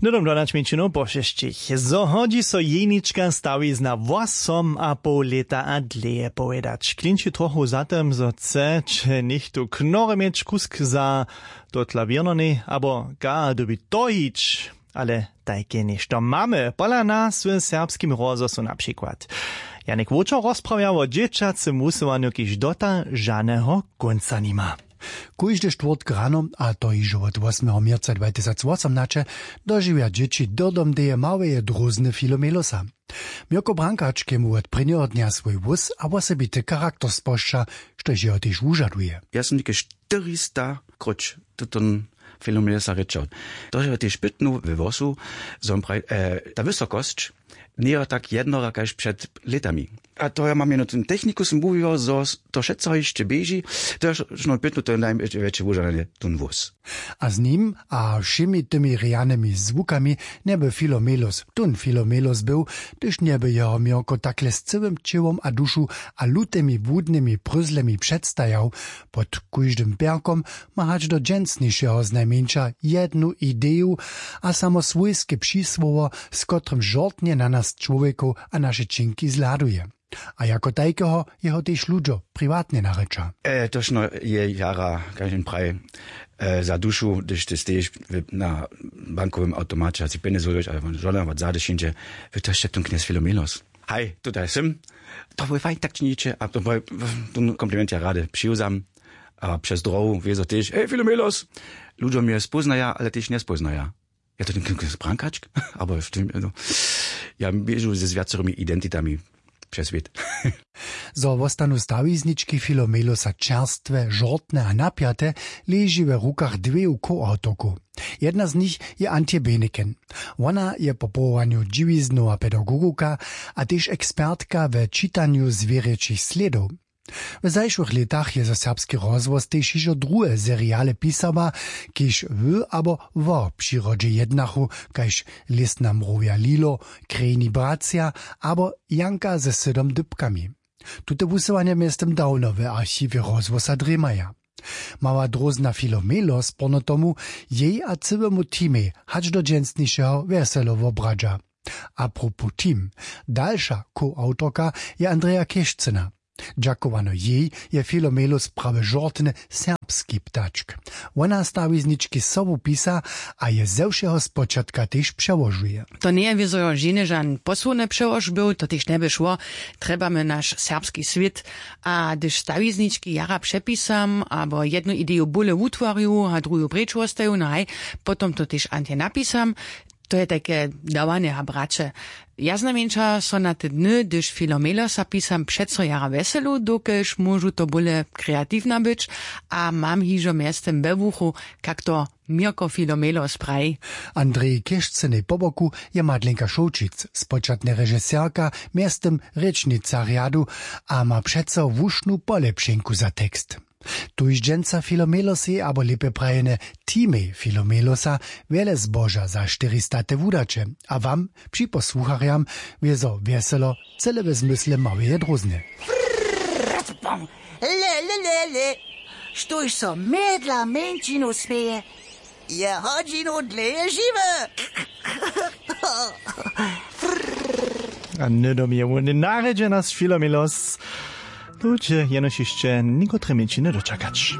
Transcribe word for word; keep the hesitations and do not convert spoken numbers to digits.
Hnydom dodać mjeńšinow po šesćich. Zo hodźi so jenička stawizna wosom a poł lěta a dlěje powědać, klinči trochu za tym, zo chce će něchtó knorje měć kusk za to klawěrnonej abo ga dyrbi to hić. Ale tajke něšto mamy pola nas w serbskim rozhłosu na přikład. Janik Wočer rozprawja wo dźěćacym wusyłanju, kiž dota žaneho kónca nima. Kóždy štwórtk rano, a to hižo wot wosmeho měrca dwatysacwosomnaće, dožiwja dźěći dyrdom deje małeje drózny filomelosa. Měrko brankač k jemu wot prěnjeho dnja swój włós a wosebity charakter spožča, štož jeho tež wužaduje. Ja som něke štyrista króć tuton filomelosa rěčał. To je tež pytnu we włosu, zo on praji, e, ta wysokosć njejo tak jednora kaž před lětami. A to ja mam jeno ten techniku, som mówił, zo s- to wšetco hišće běži. To je šno pytnu, to je najwjetše wužadanje, ten włós. A z nim a wšěmi tymi rjanymi zwukami njeby filomelos tón filomelos był, hdyž njeby jeho měrko takle z cyłym ćěłom a dušu a lutymi błudnymi pryzlemi předstajał. Pod kóždym pjerkom ma hač do dźensnišeho znajmjeńša jednu ideju a samo swójske přisłowo, z kotrym žortnje na nas čłowjekow a naše činki zhladuje. A jako tajkeho jeho tež ludźo priwatnje narěča. E, točno je jara, kaž jen praji, e, za dušu, hdyž ty steješ w- na bankowym awtomaće a si pjenjez wódźeš, ale won žona wot zady šinče, wy to sće tón knjez filomelos. Haj, tutaj sym. To boj fajn, tak činiće a to boj, ten kompliment ja rady přiwzam. A přez drohu wězo tež, hej, filomelos. Ludźo mje spóznaja, ale tež njespóznaja. Ja to ten knjez brankačk abo w tym, no. Ja běžu ze zwjacorymi identitami přez swět. Zo wostanu stawiznički filomelosa čerstwe, žortne a napjate, leži we rukach dweju co-awtorkow. Jedna z nich je Antje Beneken. Wona je po powołanju dźiwiznowa pedagogowka a tež ekspertka we čitanju zwěrječich slědow. W zašłych lětach je za serbski rozhłos tež hižo druhe seriale pisała, kiž w abo wo přirodźe jednachu, kaž Lěsna mrowja Lilo, Krejni bratřa abo Janka ze sydom dypkami. Tute wusyłanja mjeztym dawno w archiwje rozhłosa drěmaja. Mała drózna filomelos porno tomu, jej a cyłemu teamej hač do dźensnišeho wjeselo wobradźa. A propos team, dalša co-awtorka je Andreja Kešcyna. Dźakowano jej je filomelos prawje žortny serbski ptačk. Wona stawiznički sobu pisa a je ze wšeho spočatka tež přełožuje. To njeje wězo žene žan posłowny přełož był, to tež njeby šło. Trjebamy naš serbski swět. A hdyž stawiznički jara přepisam abo jednu ideju bóle wutwarju a druhu preč wostaju, no haj, potom to tež Antje napisam. To je tajke dawanje a braće. Ja znajmjeńša so na te dny, hdyž filomelosa pisam, přeco jara wjeselu, dokelž móžu to bóle kreatiwna być. A mam hižo mjeztym we wuchu, kak to měrko filomelos praji. Andreji kěšcenej po boku je madlenka šołčic, spočatnje režiserka, mjeztym rěčnica rjadu, a ma přeco wušnu polěpšenku za tekst. Tuž dźensa filomelosej abo lěpje prajene, teamej filomelosa wjele zboža za štyri staty wudaće. A wam, připosłucharjam, wězo wjeselo, cyle we zmysle małeje drózny. Le le le le. Štóž so mjedla mjeńšinu směje, je hodźinu dlěje žiwy. A hnydom je wón narjedźena z filomelos. Tu će jenož hišće někotre mjeńšiny dočakać.